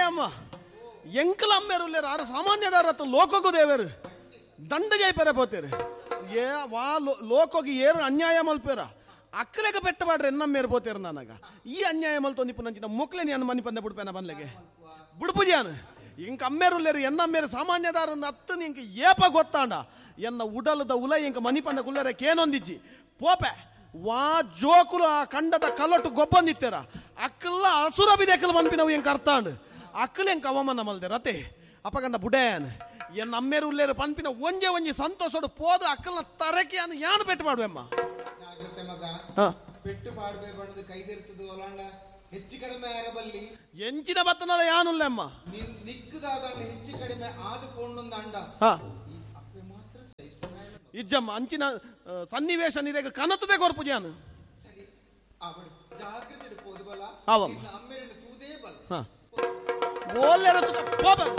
ಅಮ್ಮ ಎಂಕಲ ಅಮ್ಮೇರು ಆರು ಸಾಮಾನ್ಯದಾರತ್ತ ಲೋಕಕ್ಕೂ ದೇವರು ದಂಡ ಜೈಪೆರೆ ಪೋತೇರು ಏ ವಾ ಲೋಕೋಗಿ ಏರು ಅನ್ಯಾಯ ಮಲ್ಪೇರ ಅಕ್ಕಲೆಗ ಪೆಟ್ಟ ಪಾಡ್ರೆ ಎನ್ನಮ್ಮೇರು ಪೋತೇರು ನನಗ ಈ ಅನ್ಯಾಯ ಮಲ್ತೊಂದಿಪ್ಪು ನಂಚಿನ ಮೊಕ್ಲೆ ನಾನು ಮನಿ ಪಂದೆ ಬುಡ್ಪೇನ ಬನ್ಲೆಗೆ ಬುಡ್ಪುಜಿಯಾನು ಇಂಕ ಅಮ್ಮೇರುಲ್ಲೇರು ಎನ್ನಮ್ಮೇರು ಸಾಮಾನ್ಯದಾರನ್ನ ಅತ್ತು ಇಂಕ ಏಪ ಗೊತ್ತಾಂಡ ಎನ್ನ ಉಡಲದ ಉಲ ಇಂಕ ಮನಿ ಪಂದ ಕುಲ್ಲರೆ ಕೇನೊಂದಿಜ್ಜಿ ಪೋಪೆ ವಾ ಜೋಕುಲು ಆ ಕಂಡದ ಕಲೊಟ್ಟು ಗೊಬ್ಬಂದಿತ್ತೇರ ಅಕ್ಕಲ್ಲ ಅಸುರ ಬಿದೆಕ್ಕಲು ಮನ್ಪಿನವು ಎಂಕ ಅರ್ಥಾಂಡ್ ಅಕ್ಕಲು ಎಂಕ ಅವಮಾನ ಮಲ್ದೆ ರತೆ ಅಪಗಂಡ ಬುಡೇನ್ ಎನ್ನ ಅಮ್ಮೇರು ಉಲ್ಲೇರು ಪನ್ಪಿನ ಒಂಜೆ ಒಂಜಿ ಸಂತೋಷಡು ಪೋದು ಅಕ್ಕಲ್ನ ತರಕೆ ಅನ್ನು ಯಾನು ಪೆಟ್ಟು ಮಾಡುವೆಮ್ಮ. ಜಾಗ್ರತೆ ಮಗ. ಪೆಟ್ಟು ಪಾಡ್ಬೆ ಬಣ್ಣದ ಕೈದೆರ್ತದು ಒಲಾಂಡ ಹೆಚ್ಚು ಕಡಿಮೆ ಆರಬಲ್ಲಿ ಎಂಚಿನ ಬತ್ತನಲ್ಲ ಯಾನುಲ್ಲಮ್ಮ. ನಿಕ್ಕದಾದಂಡ ಹೆಚ್ಚು ಕಡಿಮೆ ಆದ ಕೊಂಡೊಂದು ಈ ಅಪ್ಪೆ ಮಾತ್ರ ಇಜ್ಜಮ್ಮ ಅಂಚಿನ ಸನ್ನಿವೇಶ ನಿರೇಗ ಕನತದೆ ಕೊರ್ಪುಜಾನು. ಸರಿ ಅವಳು ಜಾಗ್ರತೆ ಪೋದು ಬಲ. ಆವಮ್ಮ. ಅಮ್ಮೇರನ್ನು ತೂದೇ ಬಲ. ಓಲ್ಲೆರ ಪೋಪ.